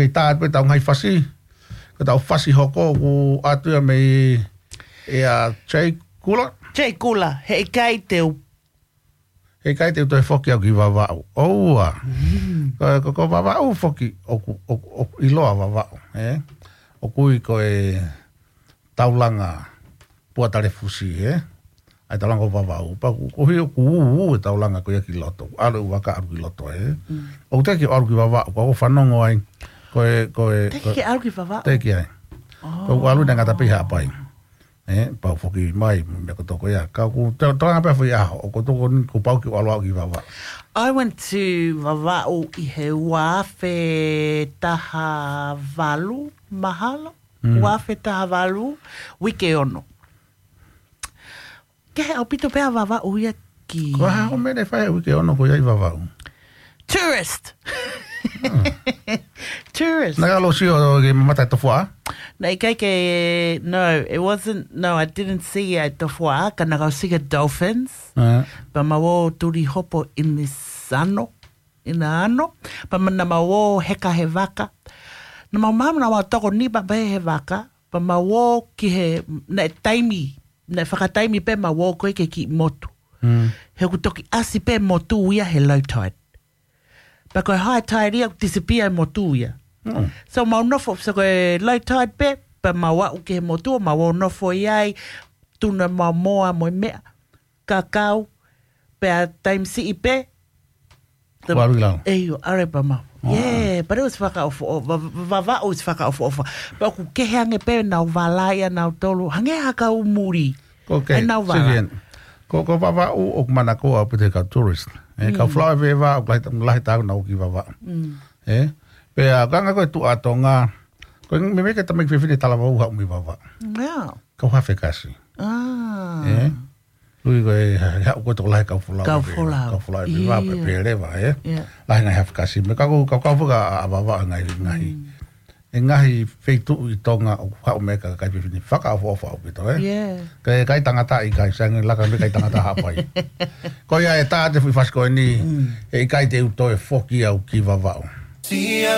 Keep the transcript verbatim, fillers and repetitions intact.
Kei tā atu pē ʻetau ngaahi fasi. Ko ʻetau fasi hoko ʻoku ʻoatu ia mei ʻia Jay Kula. Jay Kula, he ʻikai te u. He ʻikai te u toe foki au ki Vavaʻu. ʻOua. Ko, ko, ko Vavaʻu foki, ʻoku, ʻoku, ʻoku ʻiloa Vavaʻu, ē? ʻOku ui ko e taulanga Puatalefusi, ē? ʻA e taulanga ʻo Vavaʻu. Pea ʻoku, ʻoku ʻi ai ʻoku ū, ū e taulanga ko ia ki loto. ʻAlu e vaka ʻalu ki loto, ē? ʻOku teʻeki ʻalu ki Vavaʻu, ko ʻeku fanongo ai. Ko e, ko e, Teʻeki ke ʻalu ki Vavaʻu? Teʻeki ai. Ko ʻeku ʻalu ʻi he ngata pē ʻi Haʻapai. Ē, pau foki mai, meʻa ko toko ia. Ka ʻoku, to, to anga pē foʻi ʻaho, ʻoku toko ni kuo pau ke u ʻalu au ki Vavaʻu. I went to Vavaʻu ʻi he ua afe taha valu, mahalo? Ua afe taha valu, uike ono. Kehe ʻaupito pē ʻa Vavaʻu ia ki. Ko e hā hoʻo meʻa naʻe fai he uike ono ko ia ʻi Vavaʻu? Tourist. Tourist. Naʻa ke ʻalu ʻo sio ki he mamata ʻo e tofuaʻa? Naʻe ʻikai ke, no, it wasn't, no, I didn't see a tofuaʻa, ka naʻa ku ʻalu ʻo sio ki he dolphins. Pea mau ō tuli hopo in the sano, in the ano. Pea ma-, naʻa mau ō heka he vaka. Naʻa mau maama naʻa mau tokoniʻi pē he vaka. Pea mau ō ki he, naʻe taimi, naʻe fakataimi pē mau ō ko ē ki he kiʻi motu. He ʻoku toki ʻasi pē motu ia he low tide. Pea ko e high tide ia ʻoku disappear e motu ia. So mau nofo, so ko e low tide pē, pea mau aʻu ki he motu, mau ō nofo ai, tuna mau moa mo e meʻa, kakau, pea taimi siʻi pē, Kuo ʻalu ki lalo. ʻEio, ʻalu pē mau. Yeah, but it was fakaʻofoʻofa, va-, va-, Vavaʻu was fakaʻofoʻofa. Pea ʻoku kehe ange pē ʻenau vala ʻia nautolu, hangē ha kau muli. Ko ke, ʻenau vala. Ko, ko Vavaʻu ʻoku manakoa ʻaupito he kau tourist. Ē, kau folau ʻi Vavaʻu, ʻoku lahi, lahi taau naʻa nau ō ki Vavaʻu. Ē, pea ko e anga ko e tuʻa Tonga, ko e meimei ko e tamaiki fefine talavou haʻu mei Vavaʻu. Kau Hafekasi. Ē, Lui ko e, he, he, ko e tokolahi kau folau. Kau folau. Kau folau ʻi Vavaʻu pē, pē leva, ē? Lahi ngaahi Hafekasi. Meʻa ka ko, kau, kau foki ʻa, ʻa Vavaʻu ngaahi, ngaahi. ʻE ngaahi feituʻu ʻi Tonga ʻoku haʻu mei ai e kakai fefine fakaʻofoʻofa ʻaupito, ē? Ka e kai tangata ʻikai, sai ange laka mei kai tangata Haʻapai. Ko ia ʻe tā atu e foʻi fasi ko eni, he ʻikai te u toe foki au ki Vavaʻu.